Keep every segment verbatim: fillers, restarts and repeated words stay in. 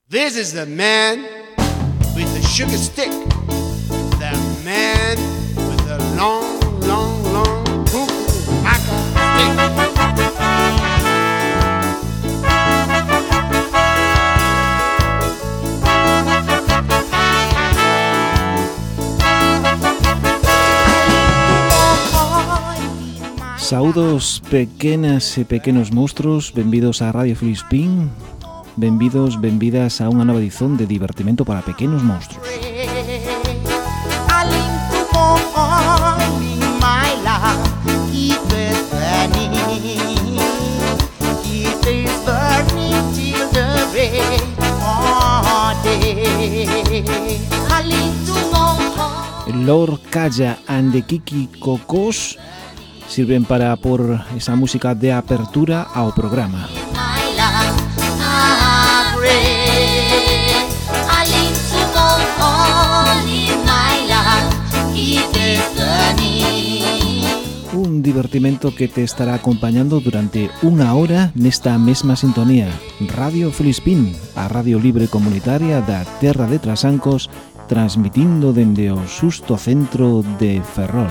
This is the man with the sugar stick, the man with the long, long, long hookah stick. Saúdos pequenas e pequenos monstruos, benvidos a Radio Filispín, benvidos, benvidas a unha nova edición de Divertimento para Pequenos Monstruos. Lord Calla and the Kiki Cocos sirven para por esa música de apertura ao programa. Un divertimento que te estará acompañando durante unha hora nesta mesma sintonía. Radio Filispín, a radio libre comunitaria da Terra de Trasancos, transmitindo dende o Susto Centro de Ferrol.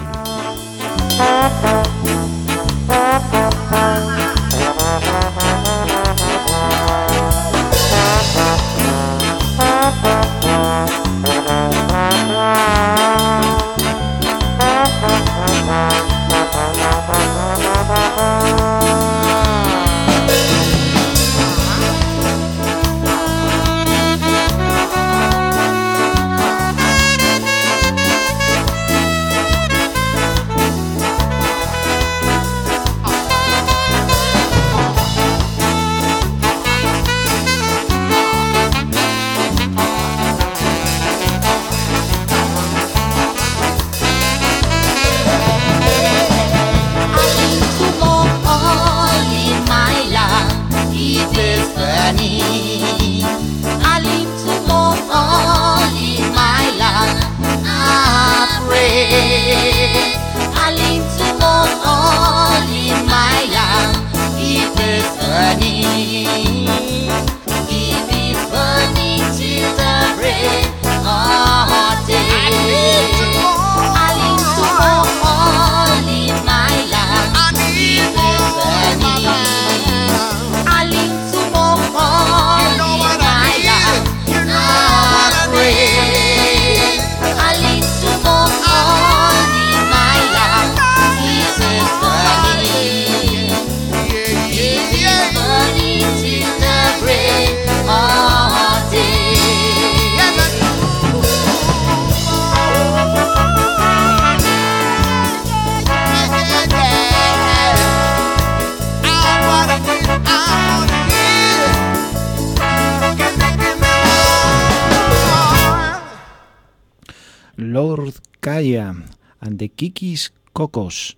Lord Calla and the Kikis Cocos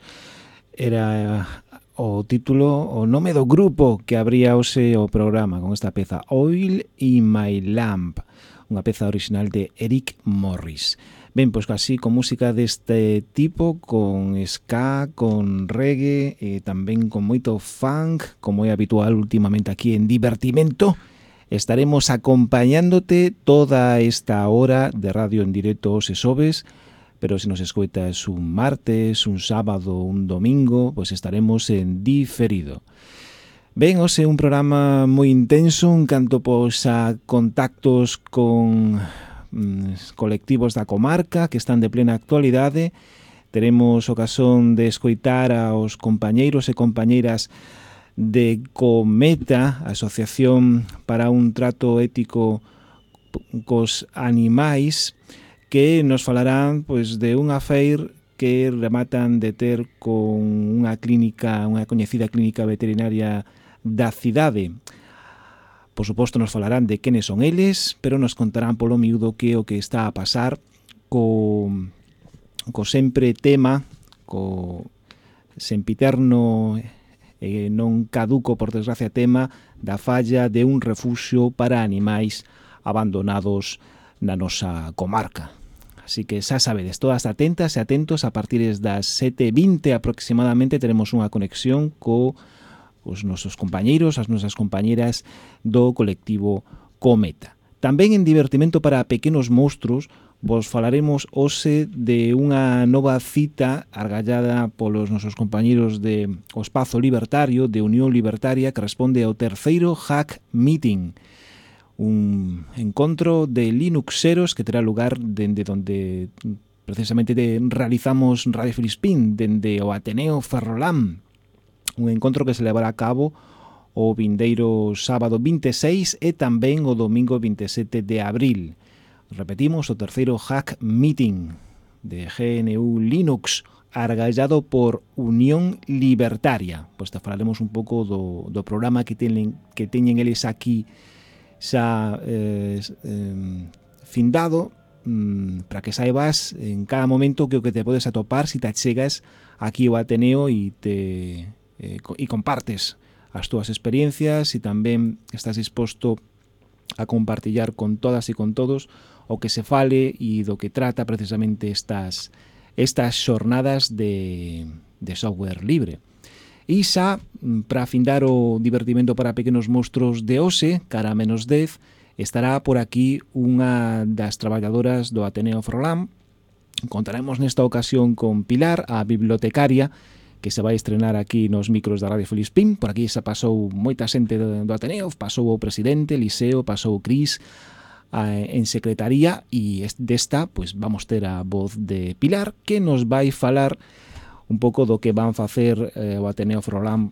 era o título, o nome do grupo que abría hoxe o programa con esta peza Oil in My Lamp, unha peza original de Eric Morris. Ben, pois así con música deste tipo, con ska, con reggae e tamén con moito funk, como é habitual últimamente aquí en Divertimento, estaremos acompañándote toda esta hora de radio en directo os xoves, pero se nos escoitas un martes, un sábado, un domingo, pois estaremos en diferido. Ben, hoxe un programa moi intenso, en canto pois a contactos con mm, colectivos da comarca que están de plena actualidade. Teremos ocasión de escoitar aos compañeiros e compañeiras de Cometa, Asociación para un Trato Ético cos Animais, que nos falarán pois de unha feir que rematan de ter con unha clínica, unha coñecida clínica veterinaria da cidade. Por suposto nos falarán de quenes son eles, pero nos contarán polo miúdo que o que está a pasar co, co sempre tema, co sempiterno e non caduco, por desgracia, tema da falla de un refuxio para animais abandonados na nosa comarca. Así que xa sabedes, todas atentas e atentos, a partir das sete e vinte aproximadamente teremos unha conexión co os nosos compañeiros, as nosas compañeras do colectivo Cometa. Tamén en divertimento para pequenos monstruos vos falaremos hoxe de unha nova cita argallada polos nosos compañeros de o Espazo Libertario, de Unión Libertaria, que responde ao terceiro Hack Meeting, un encontro de Linuxeros que terá lugar dende donde precisamente de, realizamos Radio Filispín, dende o Ateneo Ferrolán, un encontro que se levará a cabo o vindeiro sábado vinte e seis e tamén o domingo vinte e sete de abril. Repetimos, o terceiro Hack Meeting de G N U Linux, argallado por Unión Libertaria. Pois te falaremos un pouco do, do programa que teñen, que teñen eles aquí xa eh, eh, findado, mm, para que saibas en cada momento que o que te podes atopar si te chegas aquí ao Ateneo e te eh, e compartes as túas experiencias e tamén estás disposto a compartillar con todas e con todos o que se fale e do que trata precisamente estas estas xornadas de, de software libre. E xa, para afindar o divertimento para pequenos monstruos de hoxe, cara a menos dez, estará por aquí unha das traballadoras do Ateneo Ferrolán. Contaremos nesta ocasión con Pilar, a bibliotecaria, que se vai estrenar aquí nos micros da Radio Filispín. Por aquí xa pasou moita xente do, do Ateneo, pasou o presidente, Eliseo, pasou o Cris, en secretaría, e desta pues, vamos ter a voz de Pilar, que nos vai falar un pouco do que van facer eh, o Ateneo Ferrolán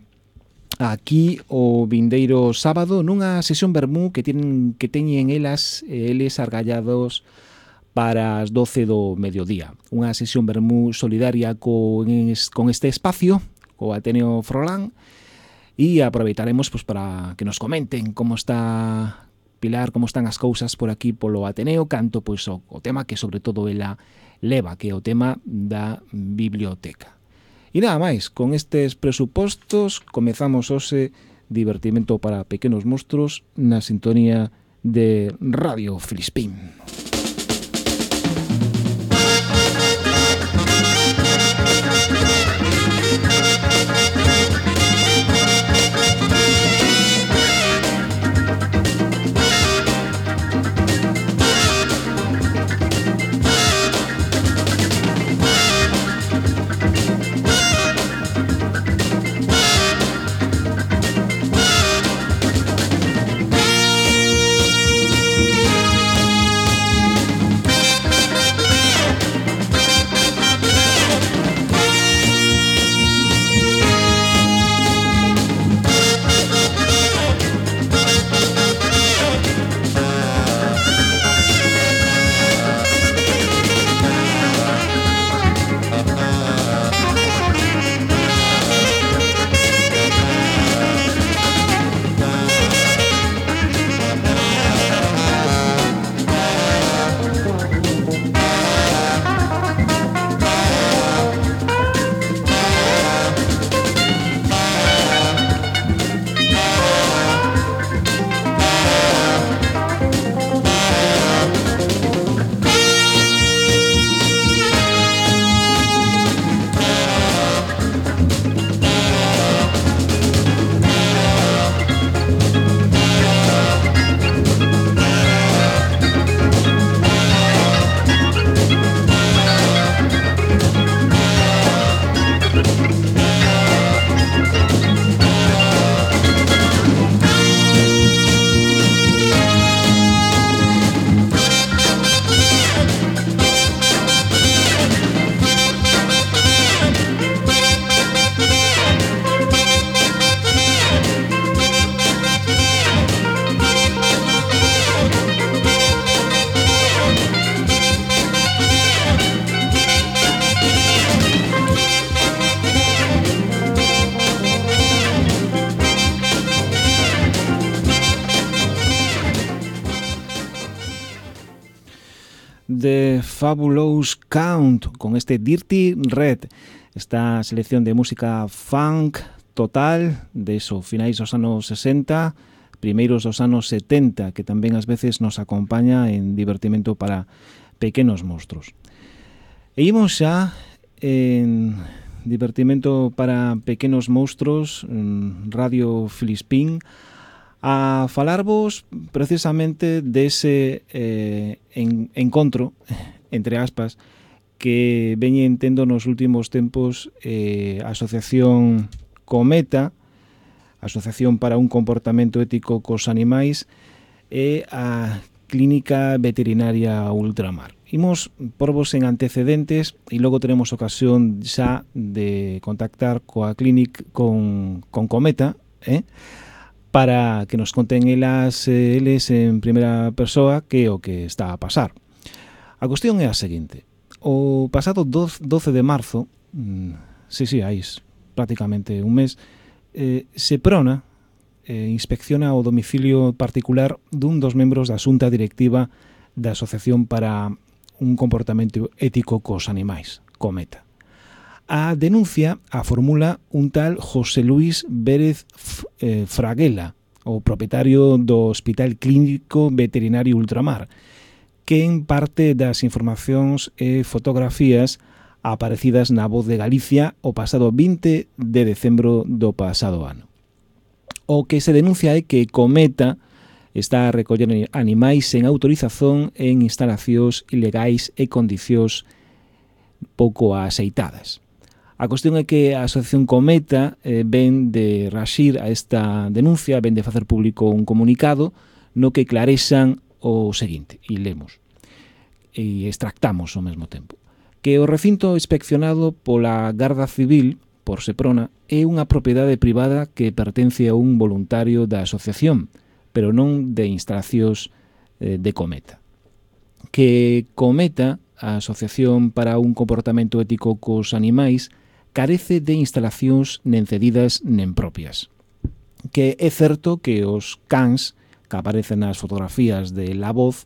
aquí o vindeiro sábado nunha sesión vermú que tienen, que teñen elas eles argallados para as doce do mediodía. Unha sesión vermú solidaria con, con este espacio, co Ateneo Ferrolán, e aproveitaremos pues, para que nos comenten como está Pilar, como están as cousas por aquí polo Ateneo, canto pois o, o tema que sobre todo ela leva, que é o tema da biblioteca. E nada máis, con estes presupostos comezamos hoxe divertimento para pequenos monstruos na sintonía de Radio Filispín. The Fabulous Count con este Dirty Red, esta selección de música funk total de esos finais dos anos sesenta, primeiros dos anos setenta, que tamén ás veces nos acompaña en divertimento para pequenos monstruos. E imos xa en divertimento para pequenos monstruos, en Radio Filispín, a falarvos precisamente dese eh, en, encontro, entre aspas, que veñen tendo nos últimos tempos eh, a Asociación Cometa, Asociación para un Comportamento Ético cos Animais, e a Clínica Veterinaria Ultramar. Imos porvos en antecedentes e logo teremos ocasión xa de contactar coa clínica con, con Cometa, eh? para que nos conten elas, eh, eles en primeira persoa que é o que está a pasar. A cuestión é a seguinte. O pasado doce de marzo, mmm, sí, sí, aí prácticamente un mes, eh, Seprona eh, inspecciona o domicilio particular dun dos membros da xunta directiva da Asociación para un Comportamento Ético cos Animais, Cometa. A denuncia a formula un tal José Luis Vélez eh, Fraguela, o propietario do Hospital Clínico Veterinario Ultramar, que en parte das informacións e fotografías aparecidas na Voz de Galicia o pasado vinte de decembro do pasado ano. O que se denuncia é que Cometa está a recoller animais sen autorización en instalacións ilegais e condicións pouco aceitadas. A cuestión é que a Asociación Cometa eh, ven de raxir a esta denuncia, ven de facer público un comunicado no que clarexan o seguinte, e lemos, e extractamos ao mesmo tempo, que o recinto inspeccionado pola Garda Civil, por Seprona, é unha propiedade privada que pertence a un voluntario da asociación, pero non de instalacións eh, de Cometa. Que Cometa, a Asociación para un Comportamento Ético cos Animais, carece de instalacións nen cedidas nen propias. Que é certo que os cans que aparecen nas fotografías de La Voz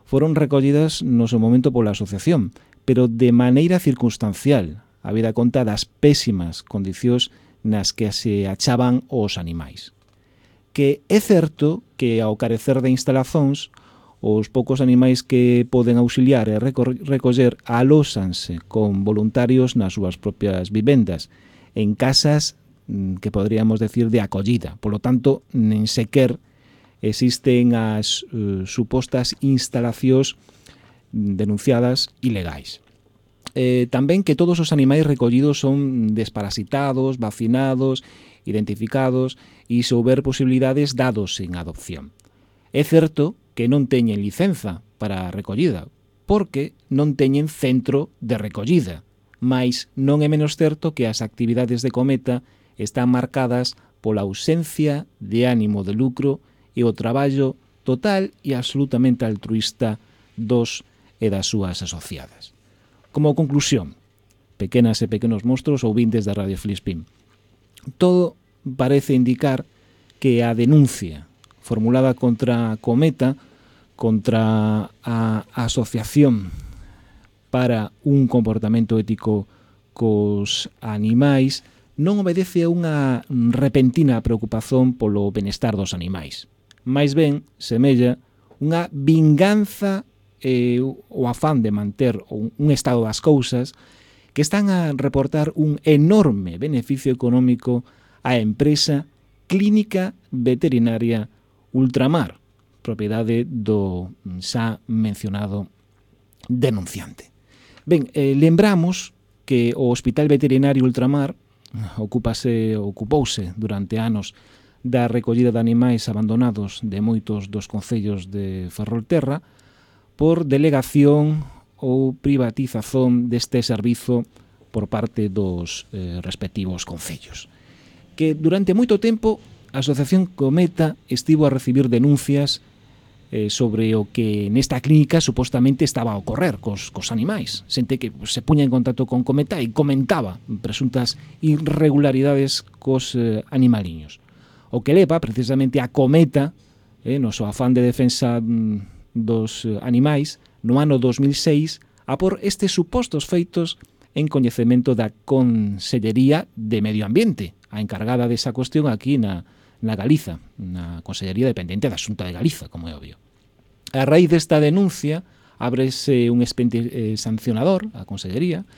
foron recollidas no seu momento pola asociación, pero de maneira circunstancial, habida conta das pésimas condicións nas que se achaban os animais. Que é certo que ao carecer de instalacións, os poucos animais que poden auxiliar e recoller alóxanse con voluntarios nas súas propias vivendas, en casas que poderíamos decir de acollida. Por lo tanto, nen sequer existen as uh, supostas instalacións denunciadas ilegais. Eh, tamén que todos os animais recollidos son desparasitados, vacinados, identificados e, se houber posibilidades, dados en adopción. É certo que non teñen licenza para a recollida, porque non teñen centro de recollida, mais non é menos certo que as actividades de Cometa están marcadas pola ausencia de ánimo de lucro e o traballo total e absolutamente altruísta dos e das súas asociadas. Como conclusión, pequenas e pequenos monstros ouvintes da Radio Filispín, todo parece indicar que a denuncia formulada contra Cometa, contra a Asociación para un Comportamento Ético cos Animais, non obedece a unha repentina preocupación polo benestar dos animais. Mais ben, semella unha vinganza e o afán de manter un, un estado das cousas que están a reportar un enorme beneficio económico á empresa Clínica Veterinaria Ultramar, propiedade do xa mencionado denunciante. Ben, eh, lembramos que o Hospital Veterinario Ultramar ocupase, ocupouse durante anos da recollida de animais abandonados de moitos dos concellos de Ferrolterra por delegación ou privatización deste servizo por parte dos eh, respectivos concellos. Que durante moito tempo a Asociación Cometa estivo a recibir denuncias eh, sobre o que nesta clínica supostamente estaba a ocorrer cos, cos animais. Xente que se puña en contacto con Cometa e comentaba presuntas irregularidades cos eh, animaliños. O que leva precisamente a Cometa, eh, no seu afán de defensa mm, dos eh, animais, no ano dos mil seis, a por estes supostos feitos en coñecemento da Consellería de Medio Ambiente, a encargada desa cuestión aquí na, na Galiza, na Consellería dependente da Xunta de Galiza, como é obvio. A raíz desta denuncia, ábrese un expediente eh, sancionador a Consellería,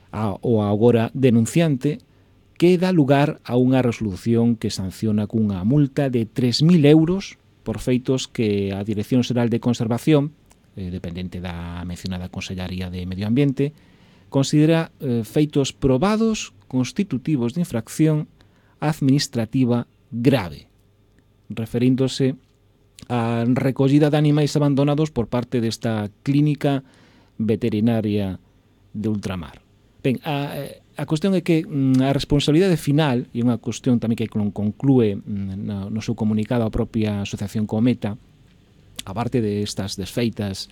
a, o agora denunciante, que dá lugar a unha resolución que sanciona cunha multa de tres mil euros por feitos que a Dirección Xeral de Conservación, eh, dependente da mencionada Consellaría de Medio Ambiente, considera eh, feitos probados constitutivos de infracción administrativa grave, referíndose a recollida de animais abandonados por parte desta clínica veterinaria de ultramar. Ben, a, a cuestión é que a responsabilidade final, e unha cuestión tamén que conclúe no, no seu comunicado a propia Asociación Cometa, aparte de estas desfeitas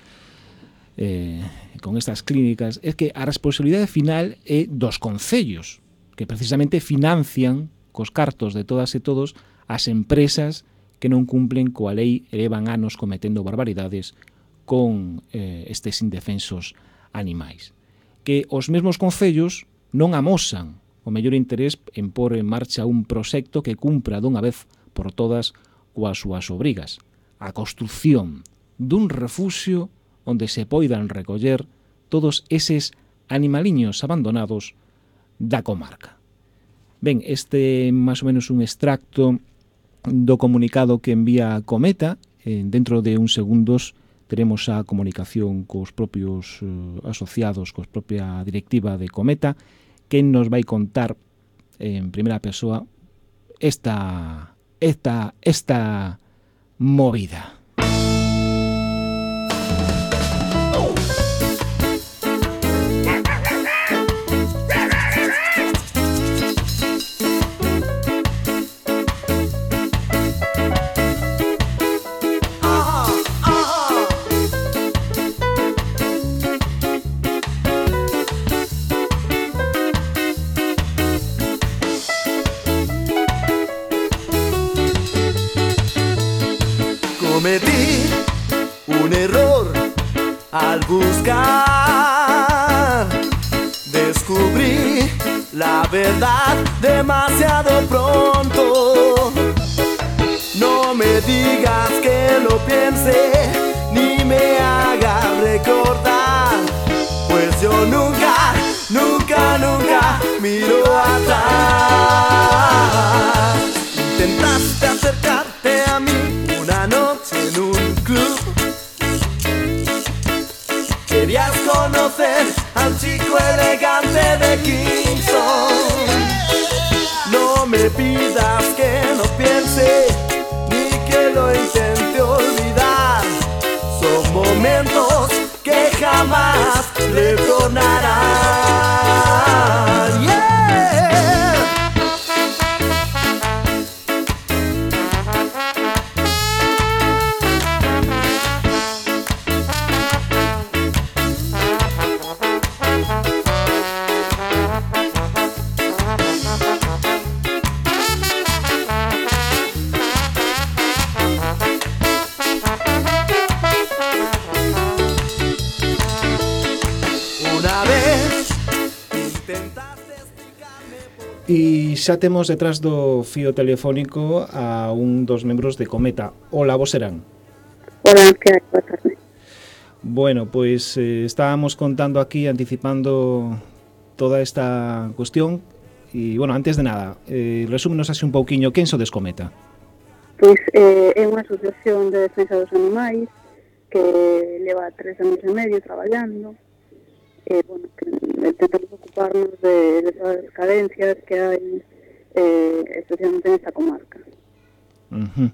eh, con estas clínicas, é que a responsabilidade final é dos concellos, que precisamente financian cos cartos de todas e todos as empresas que non cumplen coa lei e levan anos cometendo barbaridades con eh, estes indefensos animais. Que os mesmos concellos non amosan o mellor interés en pôr en marcha un proxecto que cumpra dunha vez por todas coas súas obrigas. A construción dun refuxio onde se poidan recoller todos eses animaliños abandonados da comarca. Ben, este é máis ou menos un extracto do comunicado que envía a Cometa. Eh, dentro de uns segundos teremos a comunicación cos propios eh, asociados, cos propia directiva de Cometa, que nos vai contar en primeira persoa esta, esta, esta movida. Cometí un error al buscar, descubrí la verdad demasiado pronto. No me digas que lo piense, ni me hagas recordar, pues yo nunca, nunca, nunca miro atrás. Intentaste acercarte a mí una noche en un club, querías conocer al chico elegante de Kingston. No me pidas que no piense, ni que lo intente olvidar. Son momentos que jamás retornarán. Yeah. E xa temos detrás do fío telefónico a un dos membros de Cometa. Hola, vos serán. Hola, que hai? Boa tarde. Bueno, pois eh, estábamos contando aquí, anticipando toda esta cuestión. E, bueno, antes de nada, eh, resúmenos así un pouquiño, quen sodes Cometa? Pois eh, é unha asociación de defensa dos animais que leva tres anos e medio traballando. Eh, bueno, que intentamos ocuparnos de, de todas as carencias que hai eh, especialmente nesta comarca. Uh-huh.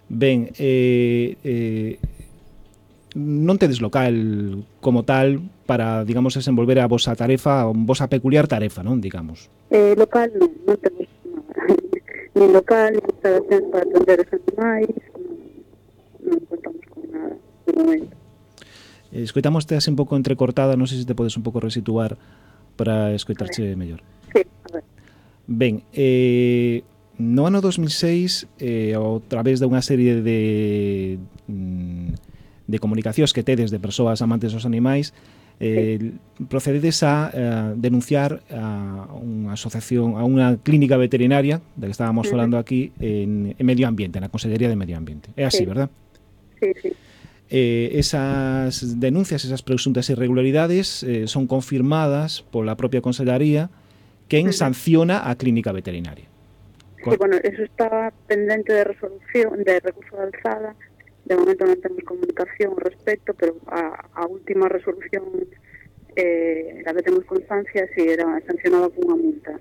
Ben, eh, eh, non tedes local como tal para, digamos, desenvolver a vosa tarefa, a vosa peculiar tarefa, non, digamos? Eh, local non, non temos nada. Ni local, ni instalación para atender os animais, non, non contamos con nada de momento. Escoitamos-te así un pouco entrecortada, non sei se te podes un pouco resituar para escoitarche mellor. Sí, a ver. Ben, eh, no ano dos mil seis, eh, a través de unha serie de, de comunicacións que tedes de persoas amantes dos animais, eh, sí. procededes a eh, denunciar a unha asociación, a unha clínica veterinaria, da que estábamos uh-huh. falando aquí, en, en Medio Ambiente, na Consellería de Medio Ambiente. É así, sí. verdad? Sí, sí. Eh, esas denuncias, esas presuntas irregularidades eh, son confirmadas pola propia Consellería, quen sanciona a clínica veterinaria. Sí, bueno, eso está pendente de resolución, de recurso de alzada. De momento non temos comunicación ao respecto, pero a, a última resolución eh, la que temos constancia si era sancionada con unha multa.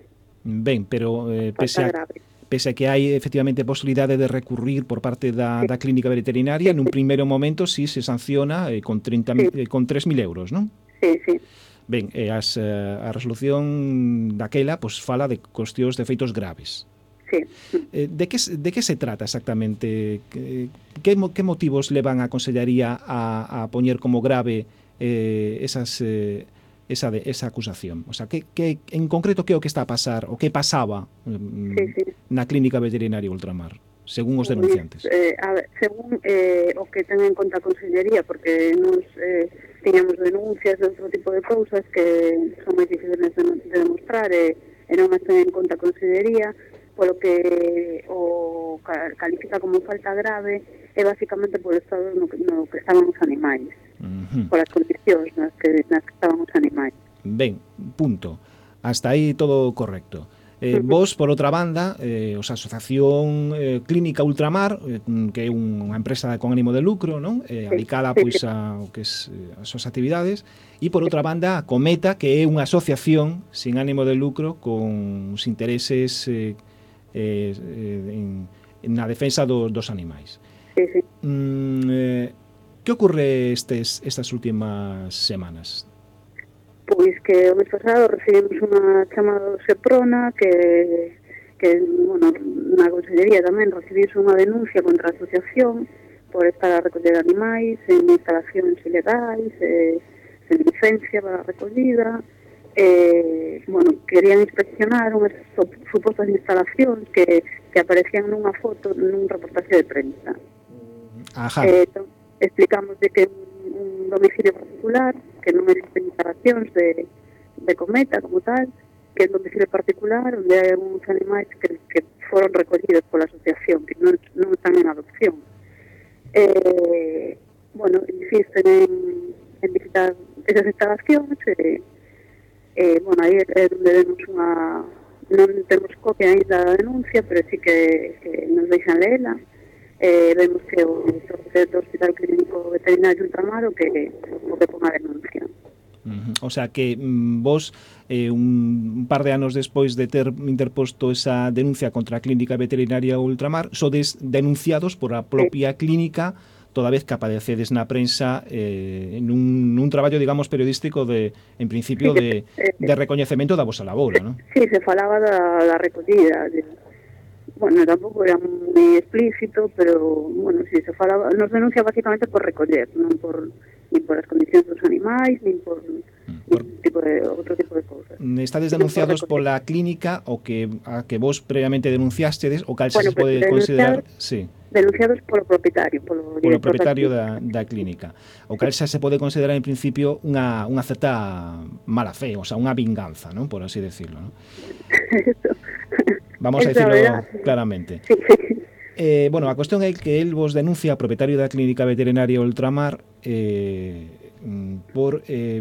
Ben, pero eh, pese, a, pese a que hai efectivamente posibilidade de recurrir por parte da, sí. da clínica veterinaria, sí, nun sí. primeiro momento sí se sanciona eh, con, treinta, sí. eh, con tres mil euros, non? Sí, sí. Ben, eh, as, eh, a resolución daquela pues, fala de cuestións de feitos graves. Sí. Eh, de, que, de que se trata exactamente? Que, que, que motivos levan a Consellería a, a poñer como grave eh, esas, eh, esa, de, esa acusación? O sea, que, que, en concreto, que é o que está a pasar, o que pasaba mm, sí, sí. na clínica veterinaria Ultramar, según os denunciantes? Eh, a ver, según eh, o que ten en conta a Consellería, porque nos eh, tiñamos denuncias de outro tipo de cousas que son moi difíciles de, de demostrar e, e non as ten en conta a Consellería, polo que o califica como falta grave é basicamente polo estado no, no que estaban os animais, uh-huh. polas condicións nas que, nas que estaban os animais. Ben, punto. Hasta aí todo correcto. Eh, uh-huh. Vos, por outra banda, eh, os Asociación eh, Clínica Ultramar, eh, que é unha empresa con ánimo de lucro, non? Eh, adicada sí, pois sí. a o que es eh, as súas actividades, e por outra banda a Cometa, que é unha asociación sin ánimo de lucro con os intereses eh, Eh, en, na defensa do, dos animais. Sí, sí. Mm, eh, que ocorre estes, estas últimas semanas? Pois que o mes pasado recibimos unha chamada do Seprona que, que bueno, na Consellería tamén recibimos unha denuncia contra a asociación por estar a recoller animais en instalacións ilegais, eh, sen licencia para a recollida. Eh, bueno, querían inspeccionar unhas supostas instalacións que, que aparecían nunha foto nun reportaje de prensa. Ajá. Eh, to, explicamos de que un, un domicilio particular, que non existen instalacións de, de Cometa como tal, que é un domicilio particular onde hai uns animais que, que foron recollidos pola asociación, que non, non están en adopción. Eh, bueno, insisten en, en visitar esas instalacións e eh, Eh, bueno, aí é onde vemos unha... Non temos copia ainda da denuncia, pero sí que, que nos deixan leela. Eh, vemos que o director do Hospital Clínico Veterinario Ultramar o que, o que pon a denuncia. Uh-huh. O sea que mm, vos, eh, un, un par de anos despois de ter interposto esa denuncia contra a Clínica Veterinaria Ultramar, sodes denunciados por a propia sí. clínica, toda vez que aparecedes na prensa eh, nun, nun traballo, digamos, periodístico de, en principio, de, de recoñecemento da vosa labora, non? Sí, se falaba da, da recollida. De, bueno, tampouco era moi explícito, pero, bueno, sí, se falaba, nos denuncia basicamente por recoller, non por, ni por as condicións dos animais, ni por... Por, tipo de, outro tipo de cousas. Estades denunciados pola clínica o que a que vos previamente denunciastedes o cal bueno, se pode considerar, sí. Denunciados polo propietario, polo, polo propietario da, da clínica. O cal xa se pode considerar en principio unha unha certa mala fe, o sea, unha vinganza, ¿no? Por así decirlo, ¿no? Vamos a decirlo claramente. Sí, sí. Eh, bueno, a cuestión é que el vos denuncia a propietario da clínica veterinaria Ultramar eh por eh,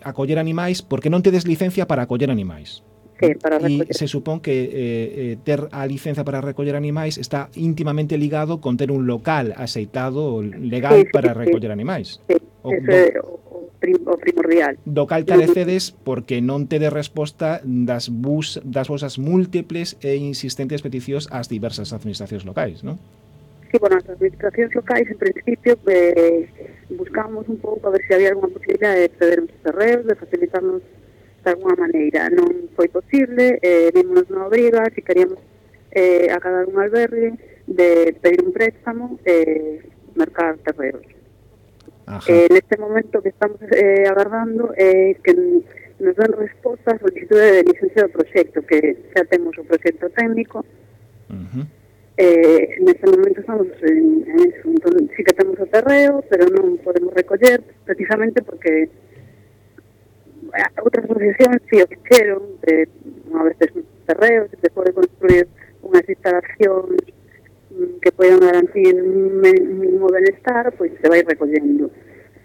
acoller animais porque non tedes licencia para acoller animais. Sí, para recoller. E se supón que eh, eh, ter a licencia para recoller animais está íntimamente ligado con ter un local aceitado legal sí, sí, para recoller sí. animais. Sí, o, eso é o, o primordial. Do cal carecedes porque non tedes resposta das, bus, das vosas múltiples e insistentes peticións ás diversas administracións locais, non? Sí, bueno, as administracións locais, en principio, eh, buscamos un pouco a ver se había alguna posibilidad de ceder uns terreos, de facilitarnos de alguna maneira. Non foi posible, eh, vimos na obriga, si queríamos eh, acadar un albergue, de pedir un préstamo e eh, mercar terreos. Eh, neste momento que estamos eh, agardando é eh, que nos dan resposta a solicitude de licencia do proxecto, que xa temos o proxecto técnico. Uh-huh. Eh, neste momento estamos en, en eso. Entón, sí que temos o terreo, pero non podemos recoller precisamente porque outras asociacións si o fixeron, eh, unha vez tes terreos, se pode construir unhas instalacións que poden garantir un mínimo benestar, pois se vai recollendo.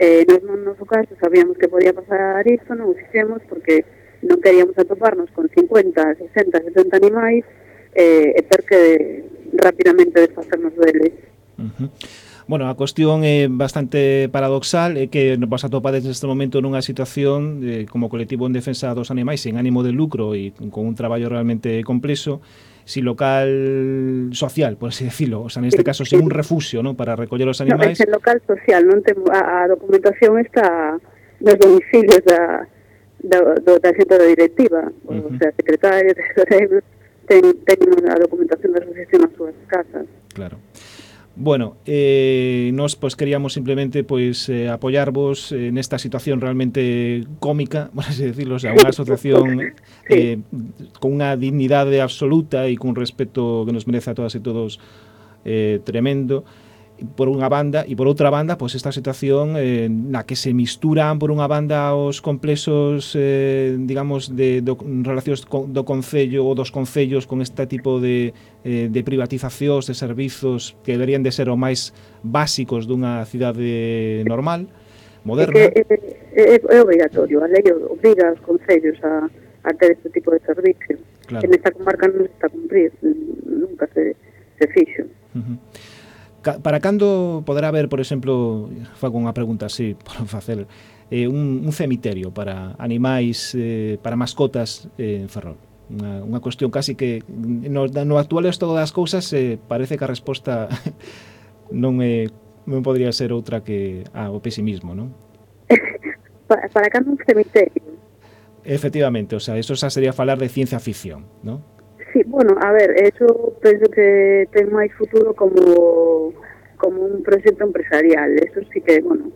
Eh, nos, no noso caso sabíamos que podía pasar isto, non o fixemos porque non queríamos atoparnos con cincuenta, sesenta, setenta animais eh, e ter que rapidamente desfacernos deles. Uh-huh. Bueno, a cuestión é bastante paradoxal, é que nos atopades neste momento nunha situación eh, como colectivo en defensa dos animais sen ánimo de lucro e con un traballo realmente complexo, si local social, por así decirlo, o sea, neste caso, sin un refugio, ¿no?, para recoller os animais. Non, é local social, non temos a, a documentación está nos domicilios da, da, do, da xente da directiva, uh-huh. o sea, secretarios, tesoreiros, ten, ten a documentación da asociación nas súas casas. Claro. Bueno, eh, nos pues queríamos simplemente pues eh, apoyarvos eh, nesta situación realmente cómica, por así decirlo, o sea, unha asociación eh, con unha dignidade absoluta e con respeto que nos merece a todas e todos eh, tremendo, por unha banda, e por outra banda, pois esta situación eh, na que se misturan por unha banda os complexos, eh, digamos, de do, relacións co, do Concello ou dos Concellos con este tipo de, eh, de privatizacións de servizos que deberían de ser o máis básicos dunha cidade normal, moderna. É, que, é, é obrigatorio, a lei obriga aos Concellos a, a ter este tipo de servicio. Claro. En esta comarca non se está a cumprir, nunca se, se fixo. Uh-huh. Para cando poderá haber, por exemplo, fago unha pregunta así, por facer, eh, un, un cemiterio para animais, eh, para mascotas eh, en Ferrol? Unha, unha cuestión casi que no, no actual estado das cousas eh, parece que a resposta non é, non podría ser outra que ah, o pesimismo, non? para, para cando un cemiterio? Efectivamente, o sea, eso xa sería falar de ciencia ficción, non? Sí, bueno, a ver, eso penso que ten máis futuro como como un proxecto empresarial. Eso sí que, bueno,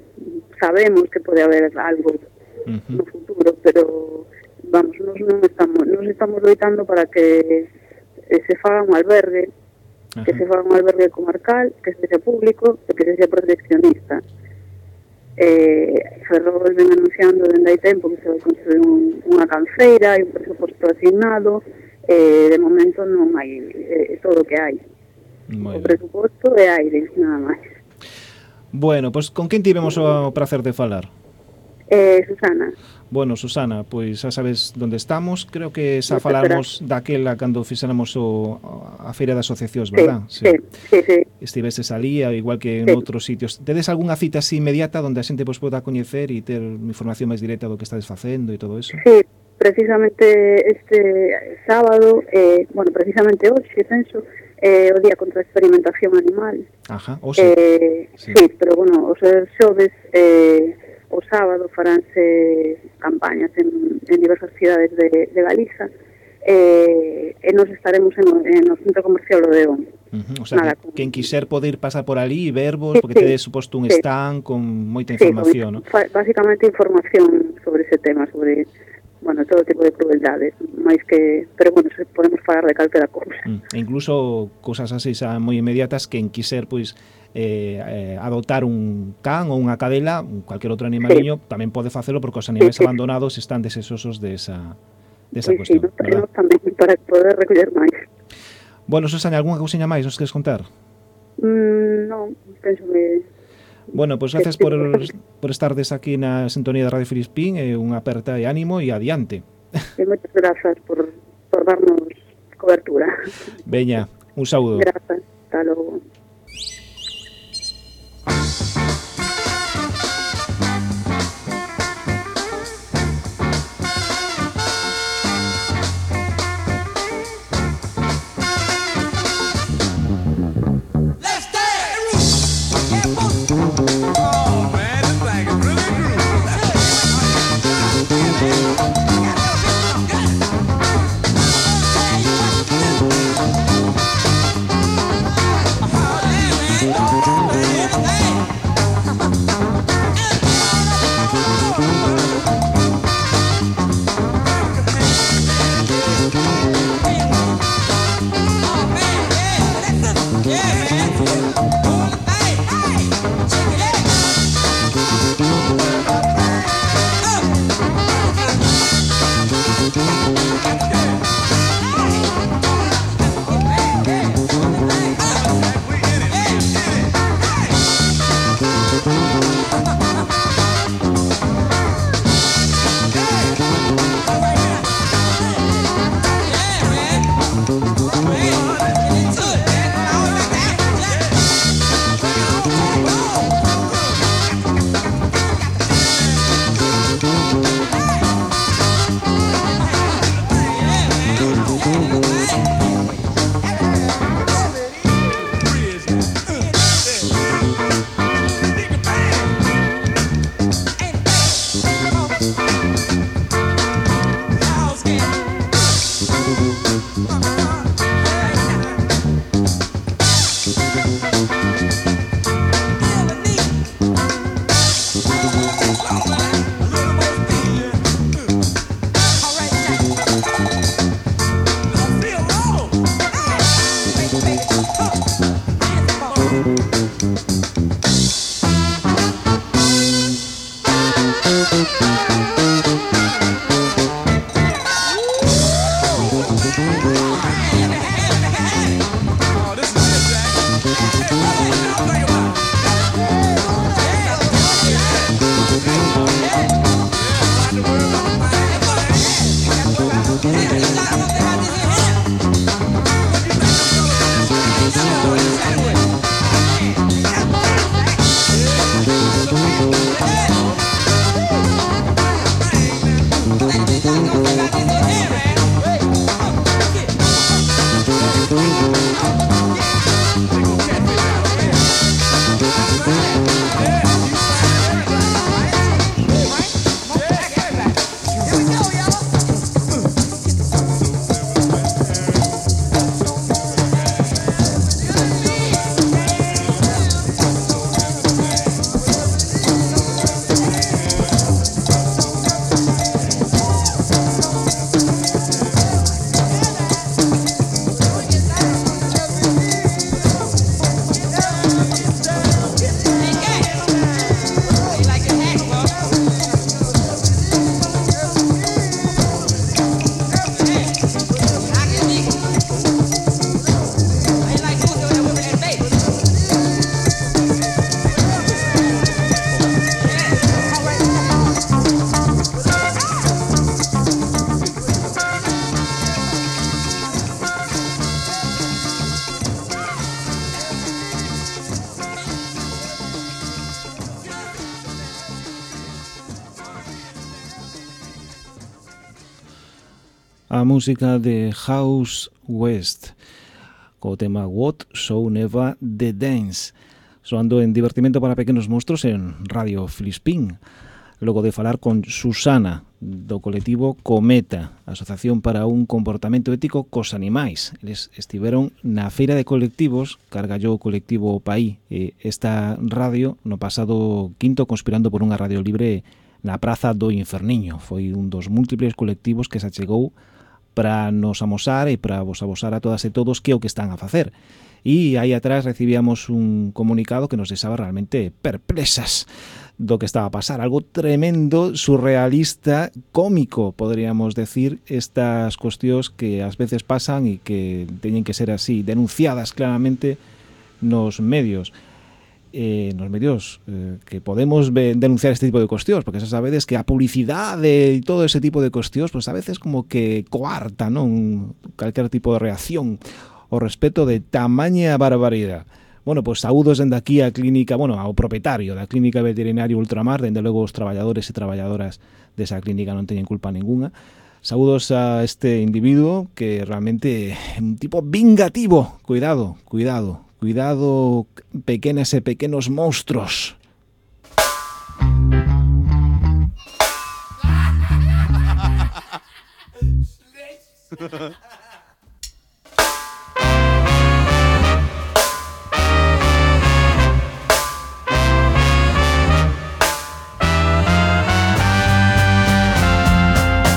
sabemos que pode haber algo uh-huh. no futuro, pero vamos, nos non estamos nos estamos loitando para que se faga un albergue, uh-huh. que se faga un albergue comarcal, que sexa público e que sexa proteccionista. Eh, Ferrol ven anunciando dende hai tempo que se vai construir un, unha canceira e un presuposto asignado. Eh, de momento non hai eh, todo o que hai. Muy o presuposto é aire, nada máis. Bueno, pois pues, con quen tivemos o prazer de falar? Eh, Susana. Bueno, Susana, pois pues, xa sabes onde estamos. Creo que xa falarmos daquela cando fixéramos o, a feira de asociacións, verdad? Sí, sí, sí, sí. Estiveses ali, igual que en sí. outros sitios. Tedes algunha cita así inmediata onde a xente pois, poda coñecer e ter información máis directa do que estades facendo e todo eso? Sí. Precisamente este sábado, eh, bueno, precisamente hoxe, penso, eh, o día contra a experimentación animal. Ajá, o sí. Eh, sí. sí, pero bueno, os xoves, eh, o sábado faránse campañas en, en diversas cidades de, de Galiza, eh, e nos estaremos en, en o Centro Comercial Odeón. Uh-huh. O sea, Nada, que, con... quen quiser poder pasar por ali e vervos, sí, porque sí, tedes suposto un sí. stand con moita información, sí, con, ¿no? Básicamente información sobre ese tema, sobre... bueno, todo tipo de crueldades, máis que, pero bueno, podemos falar de calquera cousa. Mm, e incluso cousas así xa moi inmediatas que en quiser, pois, eh, eh, adoptar un can ou unha cadela, cualquier outro animaliño, sí. tamén pode facelo porque os animais sí, sí. abandonados están desesosos de esa, de esa sí, cuestión. Sí, nos tamén para poder recoller máis. Bueno, Susana, algunha cousiña máis nos queres contar? Mm, non, penso que... Bueno, pois pues gracias por, por estardes aquí na sintonía de Radio Filispín, e unha aperta de ánimo e adiante. E moitas grazas por, por darnos cobertura. Veña, un saúdo. Grazas, hasta logo. Uh-huh. a música de House West co tema What So Never The Dance, soando en Divertimento para Pequenos Monstros en Radio Filispín, logo de falar con Susana do colectivo Cometa, Asociación para un Comportamento Ético cos Animais. Eles estiveron na feira de colectivos, cargallou o colectivo Paí e esta radio no pasado quinto conspirando por unha radio libre na Praza do Inferniño. Foi un dos múltiples colectivos que se achegou para nos amosar e para vos abosar a todas e todos que é o que están a facer. E aí atrás recibíamos un comunicado que nos deixaba realmente perplexas do que estaba a pasar. Algo tremendo, surrealista, cómico, podríamos decir, estas cuestións que ás veces pasan e que teñen que ser así, denunciadas claramente nos medios. Eh, nos medios eh, que podemos ve, denunciar este tipo de cuestións, porque xa sabedes que a publicidade e todo ese tipo de cuestións, pues a veces como que coarta, non, calquer tipo de reacción ao respeto de tamaña barbaridade. Bueno, pues saúdos dende aquí a clínica, bueno, ao propietario da clínica veterinaria Ultramar, dende logo os traballadores e traballadoras desa clínica non teñen culpa ninguna. Saúdos a este individuo que realmente é un tipo vingativo. Cuidado, cuidado. Cuidado, pequenas e pequenos monstruos.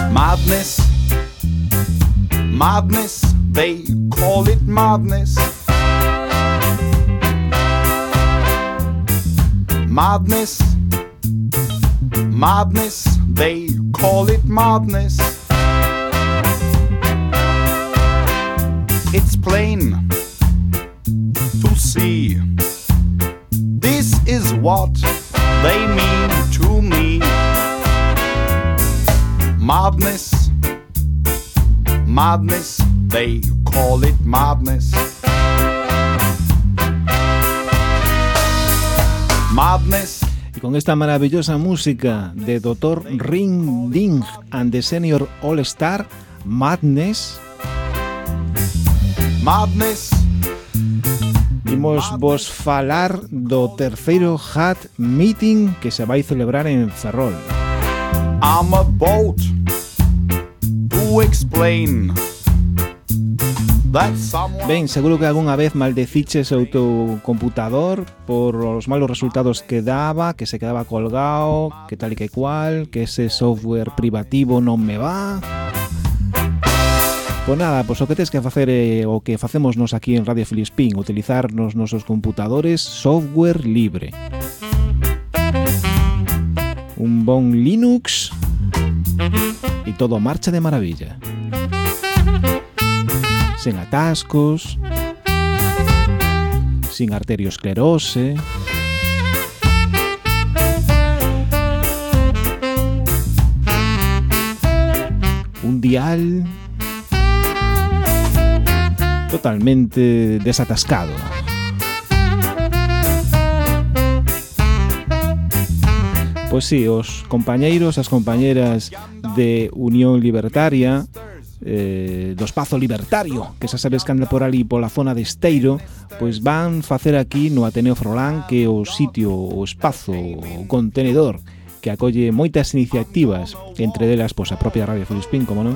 Madness, madness, they call it madness. Madness, madness, they call it madness. It's plain to see. This is what they mean to me. Madness, madness, they call it madness. Madness. Y con esta maravillosa música de doctor Ring Ding and the Senior All Star, Madness. Madness. Imos vos falar do terceiro Hat Meeting que se vai celebrar en Ferrol. I'm about to explain. Ben, seguro que algunha vez maldeciches o teu computador por os malos resultados que daba, que se quedaba colgado, que tal e que cual, que ese software privativo non me va. Pois nada, pois o que tens que facer é o que facemos nos aquí en Radio Filispín, utilizar nos nosos computadores software libre. Un bon Linux e todo marcha de maravilla. Sen atascos, sin arteriosclerose, un dial totalmente desatascado. Pois sí, os compañeiros, as compañeras de Unión Libertaria, eh, do Espazo Libertario, que xa sabes que anda por ali pola zona de Esteiro, pois van facer aquí no Ateneo Frolán, que é o sitio, o espazo, o contenedor que acolle moitas iniciativas, entre delas pois a propia Radio Filispín, como non,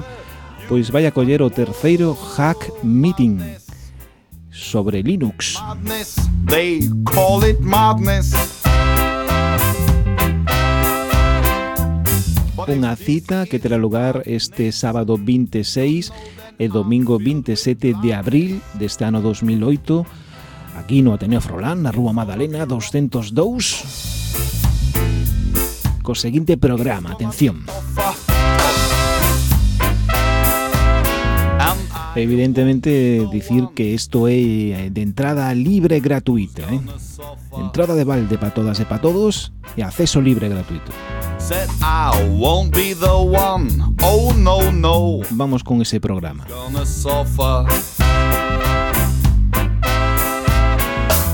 pois vai acoller o terceiro Hack Meeting sobre Linux. Madness, they call it madness. Unha cita que terá lugar este sábado veintiséis e domingo veintisiete de abril deste ano dos mil oito, aquí no Ateneo Frolán, na Rúa Madalena doscientos dous, co seguinte programa, atención. Evidentemente, dicir que isto é de entrada libre e gratuita, eh? Entrada de balde para todas e para todos e acceso libre e gratuito. Said I won't be the one. Oh no no. Vamos con ese programa. Gonna suffer.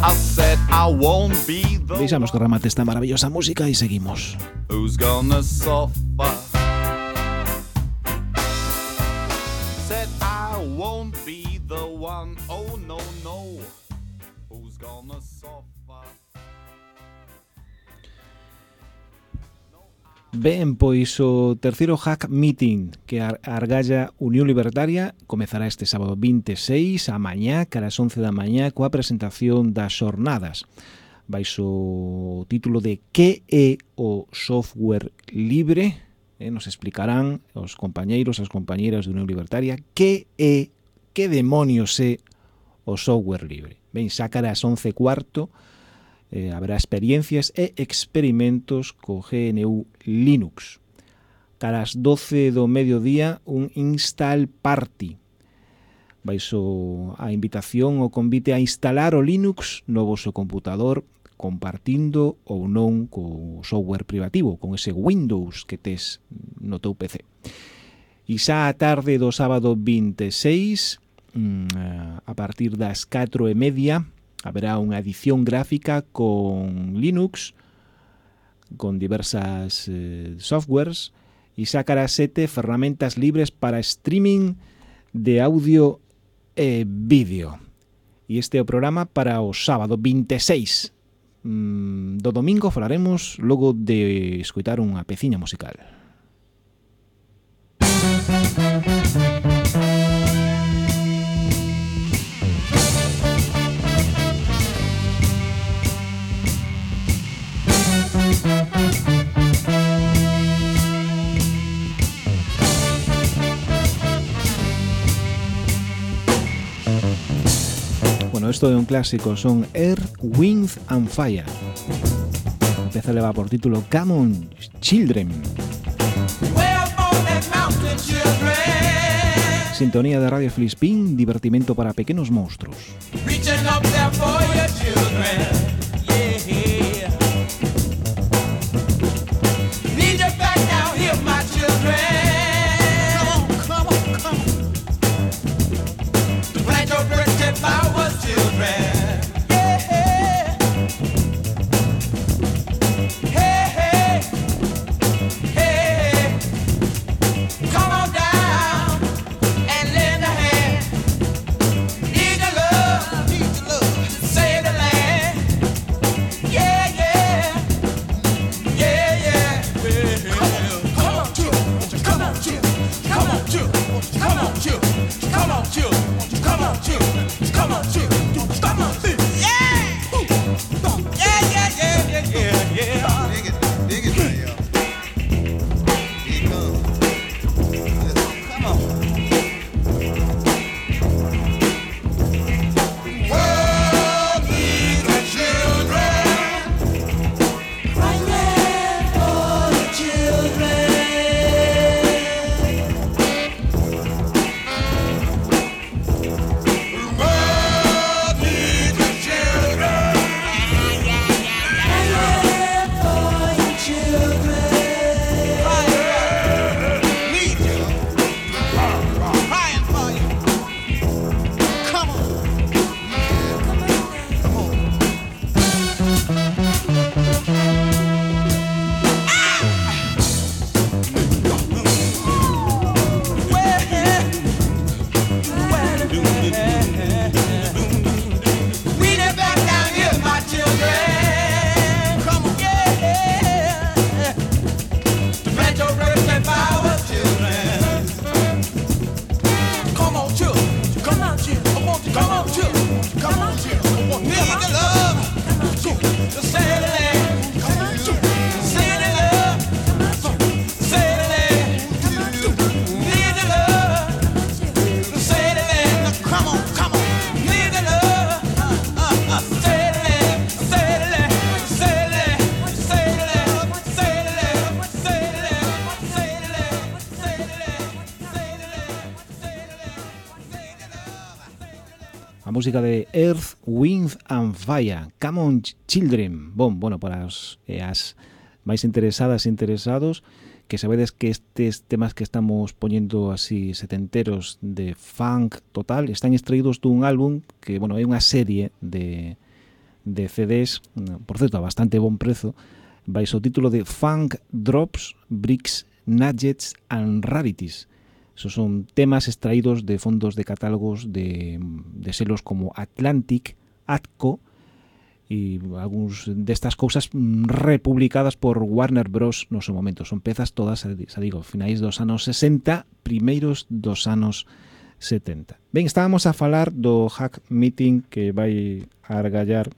I said I won't be the Deixamos que remate esta maravillosa música e seguimos. Who's gonna suffer? Ben, pois o terceiro Hack Meeting que argalla Unión Libertaria comezará este sábado vinte e seis a mañá, cara as once da mañá, coa presentación das xornadas. Baixo o título de Que é o software libre? Eh, nos explicarán os compañeiros, as compañeiras de Unión Libertaria que é, que demonios é o software libre. Ben, xa cara as once e cuarto, Eh, haberá experiencias e experimentos co G N U Linux. Cara as doce do mediodía, un install party. Baixo a invitación o convite a instalar o Linux no voso computador, compartindo ou non co software privativo, con ese Windows que tes no teu P C. E xa a tarde do sábado vinte e seis, a partir das catro e media, haberá unha edición gráfica con Linux, con diversas eh, softwares, e sacará sete ferramentas libres para streaming de audio e vídeo. E este é o programa para o sábado vinte e seis. Mm, do domingo falaremos logo de escoitar unha peciña musical. Bueno, esto é un clásico, son Earth, Wind and Fire. Empeza a levar por título Come On Children. Sintonía de Radio Filispín, divertimento para pequenos monstruos. Música de Earth, Wind and Fire, Come On Children. Bon, bueno, para os eh, as máis interesadas e interesados, que sabedes que estes temas que estamos poñendo así setenteros de funk total están extraídos dun álbum que, bueno, é unha serie de, de C Ds, por certo, a bastante bon prezo, baixo o título de Funk Drops, Bricks, Nuggets and Rarities. Esos son temas extraídos de fondos de catálogos de, de selos como Atlantic, Atco e algúns destas cousas republicadas por Warner Bros. No seu momento. Son pezas todas, xa digo, finais dos anos sesenta, primeiros dos anos setenta. Ben, estábamos a falar do Hack Meeting que vai a argallar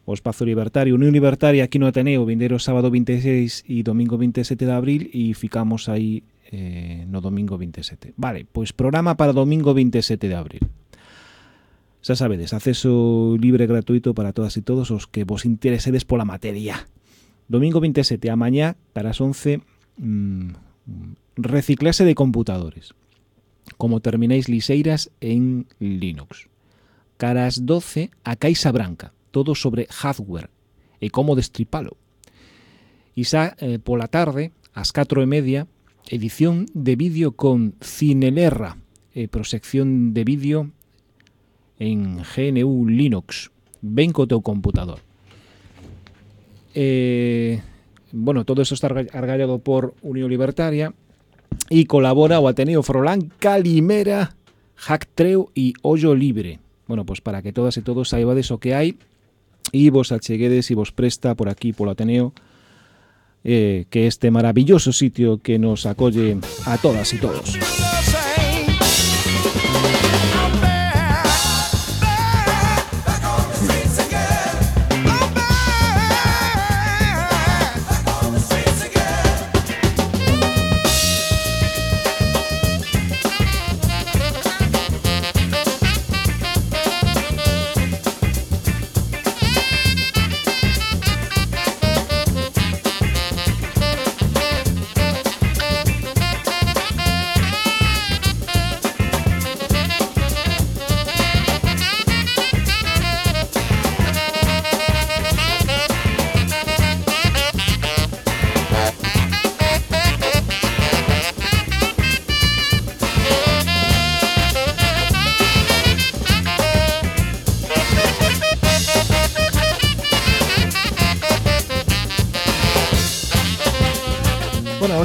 o Espazo Libertario, Unión Libertaria aquí no Ateneo, vindeiro sábado vinte e seis e domingo vinte e sete de abril, e ficamos aí eh, no domingo vinte e sete. Vale, pois programa para domingo vinte e sete de abril. Xa sabedes, acceso libre e gratuito para todas e todos os que vos interesedes pola materia. Domingo vinte e sete, a mañá, caras once, mmm, reciclase de computadores. Como terminéis liseiras en Linux. Caras doce, a Caixa Branca, todo sobre hardware e como destripalo. E xa eh, pola tarde, ás catro e media, edición de vídeo con Cinelerra, e proxección de vídeo en G N U Linux. Ven co teu computador. Eh, bueno, todo eso está argallado por Unión Libertaria e colabora o Ateneo Frolán, Calimera, Hacktreo e Ollo Libre. Bueno, pues para que todas e todos saibades o que hai e vos acheguedes e vos presta por aquí polo Ateneo, eh, que este maravilloso sitio que nos acolle a todas e todos.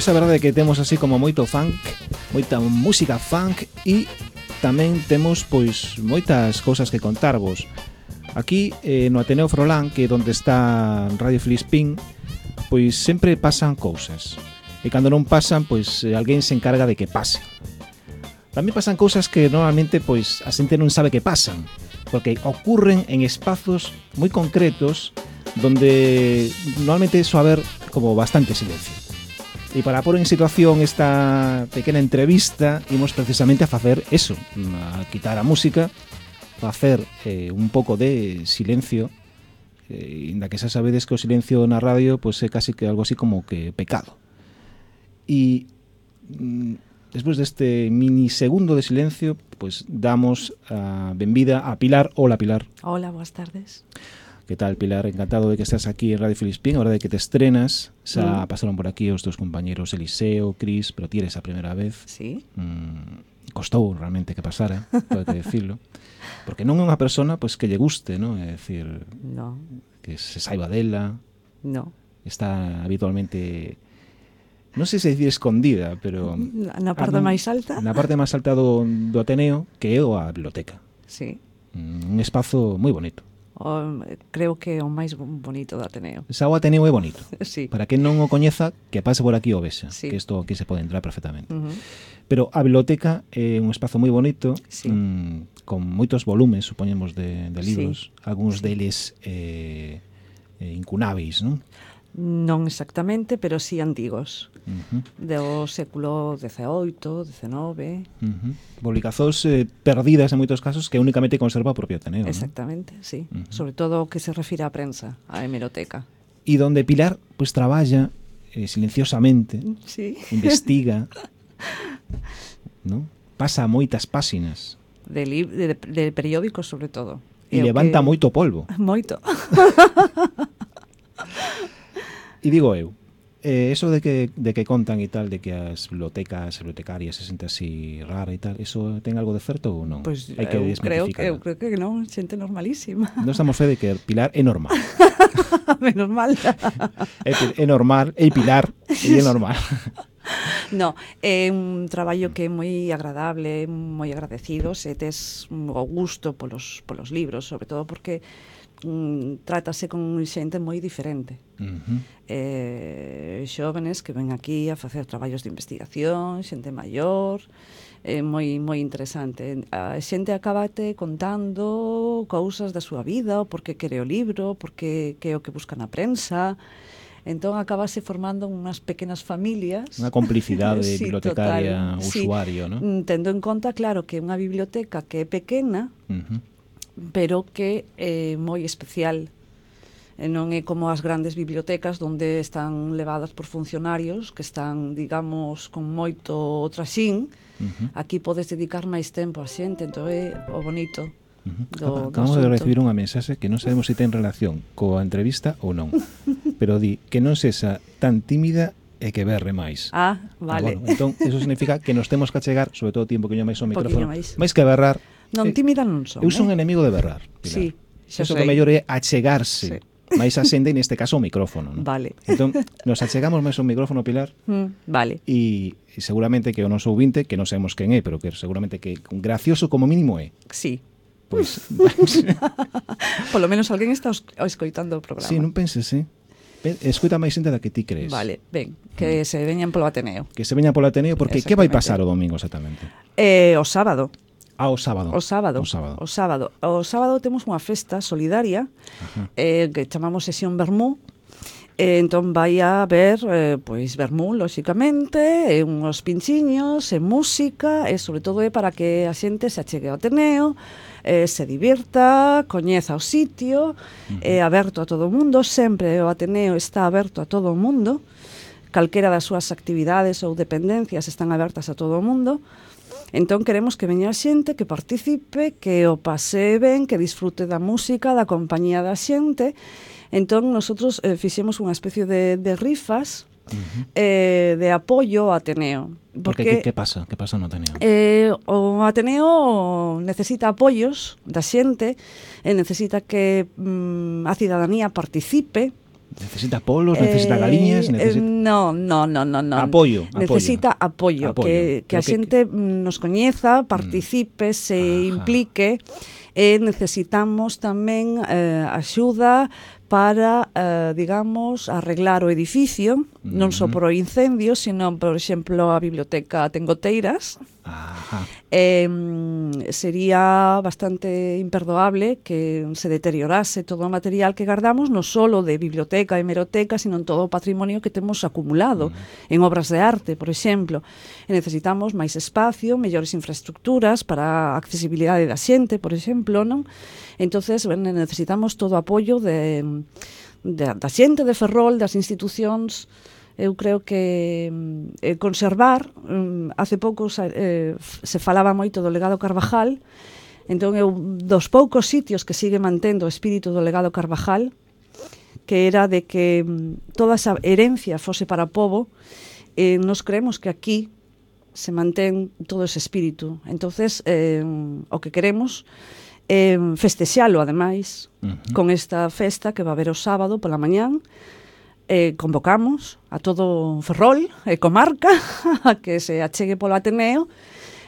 Hoxe a verdade é que temos así como moito funk, moita música funk e tamén temos pois moitas cousas que contarvos. Aquí eh, no Ateneo Frolán, que é onde está Radio Filispín, pois sempre pasan cousas. E cando non pasan, pois alguén se encarga de que pase. Tamén pasan cousas que normalmente pois a xente non sabe que pasan, porque ocurren en espazos moi concretos donde normalmente soa haber como bastante silencio. E para pôr en situación esta pequena entrevista, imos precisamente a facer eso, a quitar a música, facer eh, un pouco de silencio, eh, inda que xa sabedes que o silencio na radio pois é casi que algo así como que pecado. E mm, despois deste minisegundo de silencio, pois damos a benvida a Pilar. Hola, Pilar. Hola, boas tardes. Que tal, Pilar? Encantado de que estás aquí en Radio Filispín, a hora de que te estrenas. Xa mm. pasaron por aquí os teus compañeros Eliseo, Cris, pero ti eres a primeira vez. Sí. Mm, costou realmente que pasara, pode decirlo. Porque non é unha persona pois, que lle guste, ¿no? É dicir, no. que se saiba dela. No. Está habitualmente, non sei se decir escondida, pero na parte a, máis alta. Na parte máis alta do, do Ateneo, que é a biblioteca. Sí. Un espazo moi bonito. O, creo que é o máis bonito do Ateneo. Xa o Ateneo é bonito. Sí. Para quen non o coñeza, que pase por aquí o vexa, sí. que isto aquí se pode entrar perfectamente. Uh-huh. Pero a biblioteca é un espazo moi bonito, sí. mmm, con moitos volumes, supoñemos, de, de libros, sí. algúns sí. deles eh, eh, incunáveis, non? Non exactamente, pero sí antigos. Uh-huh. Do século dezaoito, dezenove. Uh-huh. Publicacións eh, perdidas en moitos casos que únicamente conserva o propio Ateneo. Exactamente, ¿no? sí. Uh-huh. Sobre todo o que se refire á prensa, á hemeroteca. E donde Pilar pues traballa eh, silenciosamente, sí. investiga, ¿no? Pasa moitas páxinas. De, li- de, de periódicos, sobre todo. E levanta que... moito polvo. Moito. E digo eu, eh, eso de que, de que contan e tal, de que as bibliotecas, as bibliotecarias se sente así rara e tal, eso ten algo de certo ou non? Pois Hai que eu creo que, eu creo que non, xente normalísima. Non estamos fe de que Pilar é normal. Menos mal. é, é normal, é Pilar, e é normal. No, é un traballo que é moi agradable, moi agradecido, se tes o gusto polos, polos libros, sobre todo porque mm, trátase con xente moi diferente. Uh-huh. Eh, xóvenes que ven aquí a facer traballos de investigación, xente maior, é eh, moi moi interesante. A xente acabate contando cousas da súa vida, o porque quere o libro, porque que é o que busca na prensa. Entón acabase formando unhas pequenas familias. Unha complicidade sí, bibliotecaria, total, usuario, sí. ¿no? Tendo en conta, claro, que é unha biblioteca que é pequena, Uh-huh. pero que é moi especial. E non é como as grandes bibliotecas onde están levadas por funcionarios que están, digamos, con moito traxín. Uh-huh. Aquí podes dedicar máis tempo a xente, entón é o bonito. Uh-huh. Do, Acabamos do de recibir unha mensaxe que non sabemos se ten relación coa entrevista ou non, pero di que non sexa tan tímida e que berre máis. Ah, vale. Ah, bueno, entón, eso significa que nos temos que achegar, sobre todo tiempo que yo máis o micrófono, máis. máis que berrar. Non, eh, tímida non son. Eu son eh? enemigo de berrar, Pilar. Sí, xa Eso sei. que mellor é achegarse. Sí. máis a xende, neste caso o micrófono, ¿no? Vale. Entón, nos achegamos máis o micrófono, Pilar, Mm, vale. e seguramente que o noso ouvinte, que non sabemos quen é, pero que seguramente que gracioso como mínimo é. Sí. Pois, Polo menos alguén está os- escoitando o programa. sí, non penses, sí. Ven, escuta máis xente da que ti crees. Vale, ben, que se veñan polo Ateneo. Que se veña polo Ateneo, porque que vai Exactamente. pasar o domingo exactamente? Eh, o sábado. Ah, o sábado. O sábado. O sábado. O sábado. O sábado temos unha festa solidaria eh, que chamamos Sesión Vermú. Eh, entón vai a haber eh, pois vermú, lóxicamente, e uns pinchiños, e música, e sobre todo é para que a xente se achegue ao Ateneo, eh, se divirta, coñeza o sitio, é aberto a todo o mundo, sempre o Ateneo está aberto a todo o mundo, calquera das súas actividades ou dependencias están abertas a todo o mundo. Entón queremos que veña a xente, que participe, que o pase ben, que disfrute da música, da compañía da xente. Entón nosotros eh, fixemos unha especie de, de rifas uh-huh. eh, de apoio ao Ateneo. Porque, Porque que, que pasa? Que pasa no Ateneo? eh, o Ateneo necesita apoios da xente, e necesita que mm, a cidadanía participe. Necesita polos, necesita galiñas, Eh, necesita... eh, no, no, no, no, no. Apoio, apoio. Necesita apoio, Apoio. que, que Pero a que- xente mm, nos coñeza, participe, se Ajá. implique, e necesitamos tamén eh, axuda para, eh, digamos, arreglar o edificio, non só Ujú. por o incendio, sino, por exemplo, a biblioteca ten goteiras. Ajá. Eh, mm, sería bastante imperdoable que se deteriorase todo o material que guardamos, non só de biblioteca e hemeroteca, sino en todo o patrimonio que temos acumulado en obras de arte, por exemplo. E necesitamos máis espacio, mellores infraestructuras para a accesibilidade da xente, por exemplo, non? Entonces, ben, necesitamos todo o apoio de, de, da xente de Ferrol, das institucións. Eu creo que eh, conservar, mm, hace pouco eh, se falaba moito do legado Carvajal, entón eu dos poucos sitios que sigue mantendo o espírito do legado Carvajal, que era de que mm, toda esa herencia fose para o povo, eh, nos creemos que aquí se mantén todo ese espírito. Entonces, eh, o que queremos é festexalo, ademais, Ujú. con esta festa que va a haber o sábado pola mañán. Eh, convocamos a todo Ferrol e comarca a que se achegue polo Ateneo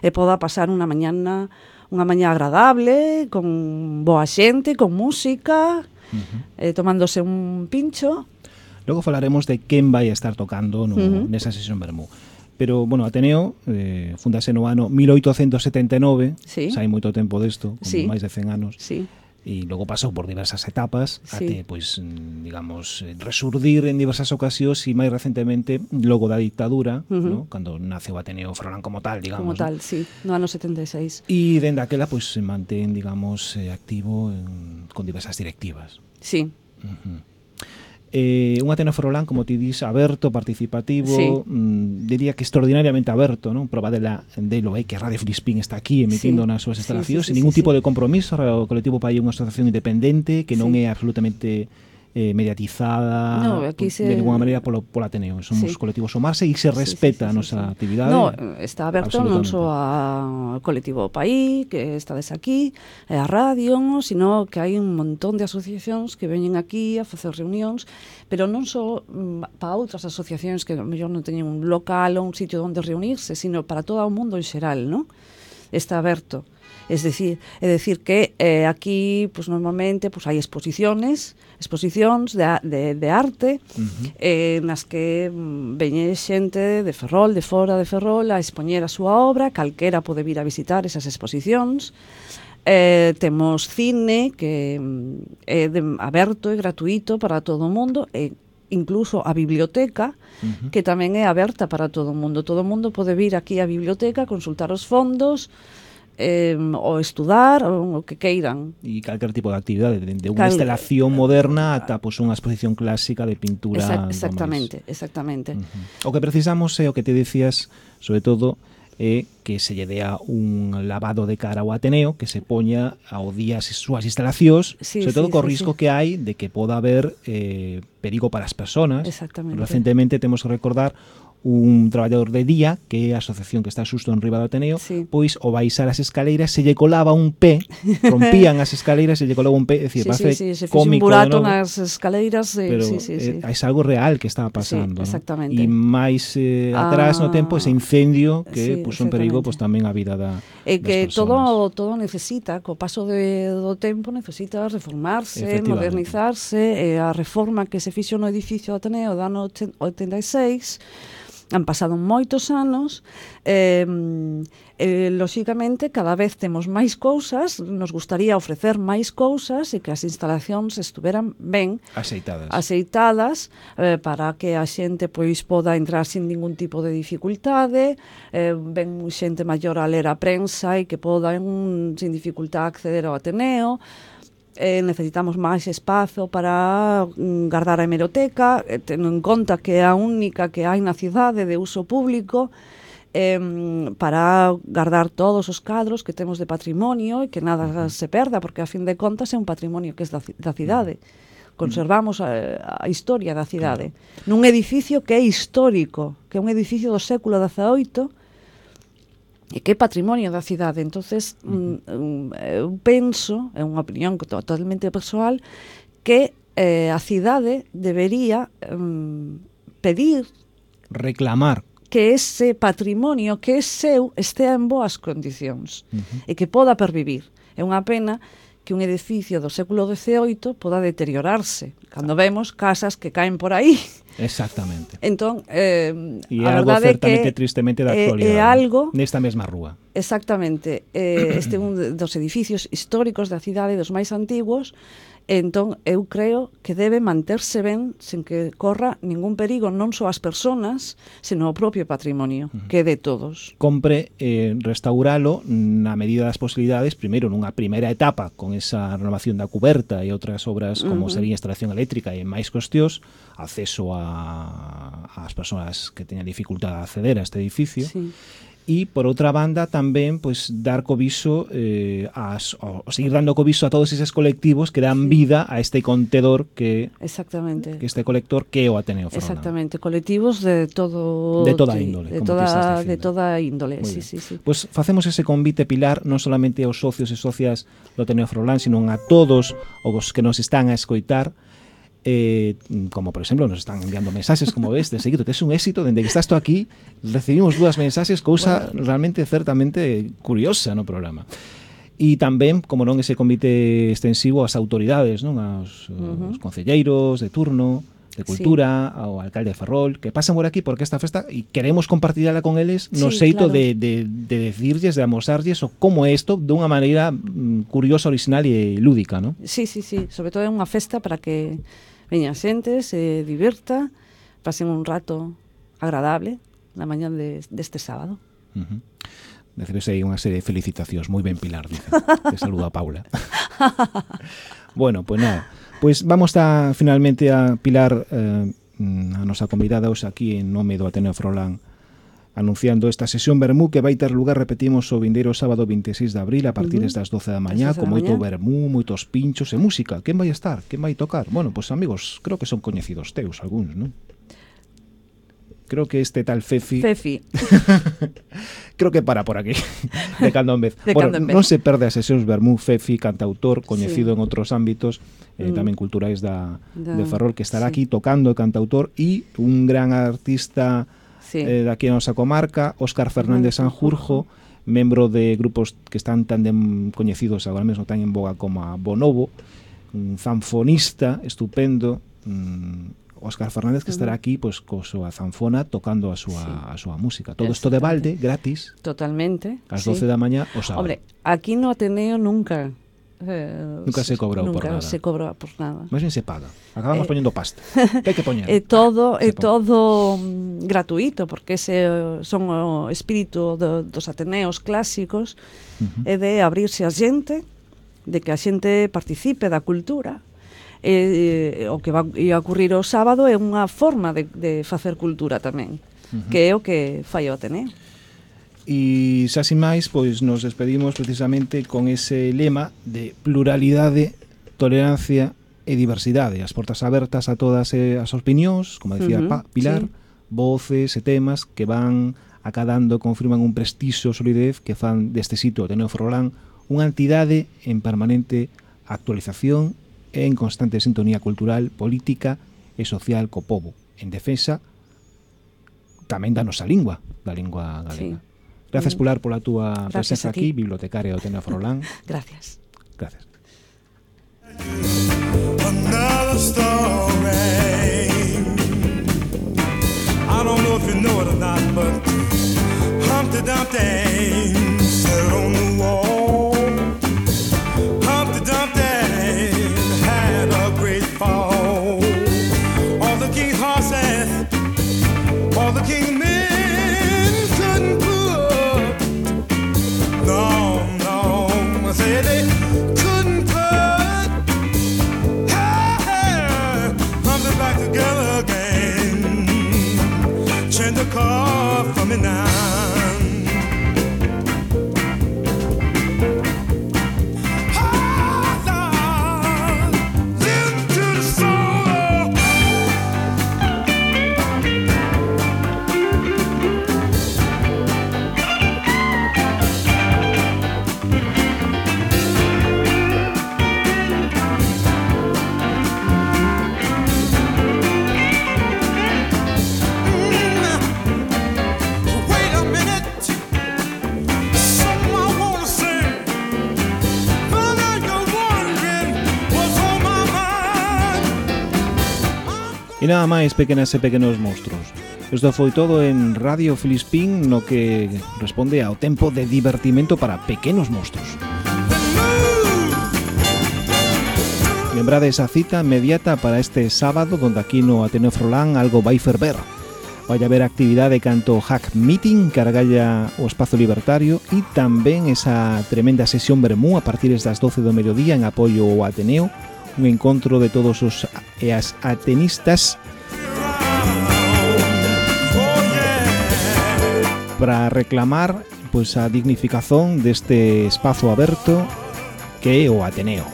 e poda pasar unha mañana unha mañá agradable, con boa xente, con música, Uh-huh. eh, tomándose un pincho. Logo falaremos de quen vai a estar tocando no, Ujú. nesa sesión Vermú. Pero, bueno, Ateneo eh, fundase no ano mil oitocentos setenta e nove, Sí. xa hai moito tempo desto, como Sí. máis de cen anos, Sí. e logo pasou por diversas etapas Sí. até, pois, mm, digamos, eh, resurdir en diversas ocasións e máis recentemente logo da dictadura, Ujú. ¿no? Cando nace o Ateneo Ferrolán como tal, digamos. Como tal, sí, no ano setenta e seis. E dende aquela, pois, se mantén, digamos, eh, activo en, con diversas directivas. Sí, Uh-huh. Eh, un Ateneo Ferrolán, como ti dis, aberto, participativo, Sí. mm, diría que extraordinariamente aberto, non? Proba dela delo é que Radio Filispín está aquí emitindo Sí. nas súas Sí, instalacións sí, sí, sin ningún sí, tipo sí. de compromiso. O colectivo Pai é unha asociación independente que non Sí. é absolutamente eh, mediatizada No, aquí se- de ninguna maneira polo, polo Ateneo. Somos Sí. colectivos Somarse e se Sí, sí, respeta a sí, sí, nosa sí. actividade. No, está aberto non Absolutamente. só ao colectivo País, que estades aquí, e a radio, sino que hai un montón de asociacións que veñen aquí a facer reunións, pero non só mm, para outras asociacións que a mellor non teñen un local ou un sitio onde reunirse, sino para todo o mundo en xeral, non? Está aberto. Es decir, é decir que eh, aquí pues, normalmente pues, hai exposiciones, exposicións de, de, de arte uh-huh. eh, nas que mm, veñe xente de Ferrol, de fora de Ferrol a expoñer a súa obra, calquera pode vir a visitar esas exposicións. Eh, temos cine que mm, é de, aberto e gratuito para todo o mundo e incluso a biblioteca uh-huh. que tamén é aberta para todo o mundo. Todo o mundo pode vir aquí á biblioteca, consultar os fondos, Eh, ou estudar ou o que queiran. E calquer tipo de actividade, de, de unha Cal... instalación moderna ata pues, unha exposición clásica de pintura. Exact, exactamente, exactamente. Uh-huh. O que precisamos é o que te decías, sobre todo, é que se lle dea un lavado de cara ao Ateneo, que se poña ao día as súas instalacións, sí, sobre todo sí, co sí, risco sí. que hai de que poda haber eh, perigo para as personas. Exactamente. Recentemente temos que recordar un traballador de día, que é a asociación que está xusto en riba do Ateneo, sí. pois ao baixar as escaleiras se lle colaba un pé, rompían as escaleiras e se lle colaba un pé, é dicir, sí, parece sí, sí, se cómico, un burato ¿no? nas escaleiras, eh, pero sí, sí, sí. é eh, algo real que estaba pasando, sí, exactamente. ¿no? E máis eh, atrás ah, no tempo ese incendio que sí, puso en perigo pues, tamén a vida da, e que das todo todo necesita, co paso de, do tempo necesita reformarse, modernizarse, e a reforma que se fixo no edificio do Ateneo do ano oitenta e seis han pasado moitos anos, eh, eh, lóxicamente cada vez temos máis cousas, nos gustaría ofrecer máis cousas e que as instalacións estuveran ben aceitadas, aceitadas eh, para que a xente pois poda entrar sin ningún tipo de dificultade, eh, ben xente maior a ler a prensa e que poda en, sin dificultad acceder ao Ateneo. Eh, necesitamos máis espazo para mm, guardar a hemeroteca, eh, tendo en conta que é a única que hai na cidade de uso público, eh, para guardar todos os cadros que temos de patrimonio e que nada se perda, porque a fin de contas é un patrimonio que é da, da cidade. Conservamos a, a historia da cidade. Claro. Nun edificio que é histórico, que é un edificio do século dezaoito, e que é patrimonio da cidade. Entonces, uh-huh. um, eu penso, é unha opinión totalmente persoal, que eh, a cidade debería um, pedir, reclamar, que ese patrimonio que é seu estea en boas condicións uh-huh. e que poda pervivir. É unha pena que un edificio do século dezaoito poda deteriorarse, cando vemos casas que caen por aí. Exactamente. Entón, eh, e a algo verdade certamente que tristemente da é, actualidade, é algo nesta mesma rúa. Exactamente. Eh, este é un dos edificios históricos da cidade, dos máis antigos. Entón, eu creo que debe manterse ben sen que corra ningún perigo, non só as persoas, senón o propio patrimonio, uh-huh. que é de todos. Compre eh, restauralo na medida das posibilidades, primeiro nunha primeira etapa con esa renovación da cuberta e outras obras como uh-huh. sería instalación eléctrica e máis cuestións, acceso a, as persoas que teñan dificultade a acceder a este edificio. Sí. E, por outra banda, tamén pues, dar cobiso, eh, as, o, seguir dando cobiso a todos eses colectivos que dan sí. vida a este contedor que exactamente que este colector que é o Ateneo Ferrolán. Exactamente, colectivos de todo de toda índole, de toda de toda índole, sí, sí, sí. Pues facemos ese convite, Pilar, non solamente aos socios e socias do Ateneo Ferrolán, sino a todos os que nos están a escoitar. Eh, como por exemplo nos están enviando mensaxes, como ves, de seguido, que é un éxito, dende que estás tú aquí recibimos dúas mensaxes, cousa bueno. realmente certamente curiosa no programa. E tamén, como non, ese convite extensivo ás autoridades, non, aos, uh-huh. aos concelleiros de turno de cultura, sí. ao alcalde de Ferrol, que pasan por aquí porque esta festa e queremos compartirla con eles no sí, xeito claro. de, de, de decirlles, de amosarlles o como é isto dunha maneira mm, curiosa, original e lúdica, non? Sí, sí, sí, sobre todo é unha festa para que veña xente, se divirta, pasen un rato agradable na mañá de, deste sábado. Uh-huh. Recibes aí unha serie de felicitacións, moi ben, Pilar, dice. Te saluda a Paula. Bueno, pois pues nada, pois pues vamos a finalmente a Pilar, eh, a nosa convidada hoxe aquí en nome do Ateneo Ferrolán, anunciando esta sesión vermú que vai ter lugar, repetimos, o vindeiro sábado vinte e seis de abril a partir uh-huh. das doce da mañá, con moito vermú, moitos pinchos e música. Quen vai estar? Quen vai tocar? Bueno, pois pues, amigos, creo que son coñecidos teus algúns, non? Creo que este tal Fefi Fefi creo que para por aquí de cando en vez, de bueno, en vez. Non se perde as sesións vermú. Fefi, cantautor coñecido sí. en outros ámbitos eh, mm. tamén culturais da, da, de Ferrol, que estará sí. aquí tocando, cantautor, e un gran artista sí. eh, daqui a nosa comarca, Óscar Fernández Sanjurjo, membro de grupos que están tan de, coñecidos agora mesmo tan en boga como a Bonobo, un zanfonista estupendo, um, Óscar Fernández, que estará aquí pois co súa zanfona tocando a súa, sí. a súa música. Todo isto de balde, gratis. Totalmente. Ás doce sí. da mañá o sábado. Hombre, aquí no Ateneo nunca Eh, nunca se cobrou por nada. Nunca se cobrou por nada. Máis ben se paga. Acabamos eh, poñendo pasta. Que hai que poñer? É todo, é todo mm, gratuito, porque ese son o espírito do, dos Ateneos clásicos, uh-huh. é de abrirse a xente, de que a xente participe da cultura. E, e, o que va a ocurrir o sábado é unha forma de, de facer cultura tamén, uh-huh. que é o que fai o Ateneo. E xa sin máis, pois nos despedimos precisamente con ese lema de pluralidade, tolerancia e diversidade. As portas abertas a todas as opinións, como decía uh-huh, Pilar, sí. voces e temas que van acadando, confirman un prestixio e solidez que fan deste sitio Ateneo Ferrolán unha entidade en permanente actualización e en constante sintonía cultural, política e social co pobo, en defensa tamén da nosa lingua, da lingua galega. Sí. Gracias, Pilar, pola túa presenza aquí, bibliotecaria do Ateneo Ferrolán. Gracias. Gracias. Another story. I don't know if you know it or not, but Humpty Dumpty sat on the wall. Humpty Dumpty had a great fall. All the king's horses, all the king's men couldn't put. No, no, I say they couldn't put hey, hey, Humpty back together again. Change the car for me now. E nada máis, pequenas e pequenos monstruos. Isto foi todo en Radio Filispín, no que responde ao tempo de divertimento para pequenos monstruos. Lembrade esa cita inmediata para este sábado, donde aquí no Ateneo Ferrolán algo vai ferver. Vai haber actividade canto Hack Meeting, cargalla o espazo libertario, e tamén esa tremenda sesión vermú a partir das doce do mediodía en apoio ao Ateneo, un encontro de todos os e as atenistas para reclamar pois a dignificación deste espazo aberto que é o Ateneo.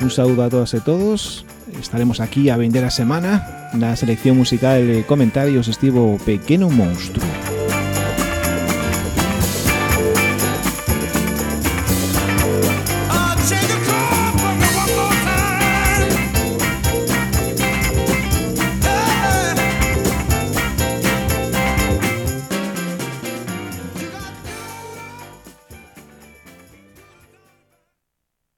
Un saúdo a todas e todos. Estaremos aquí a vender a semana. Na selección musical e comentarios estivo Pequeno Monstruo.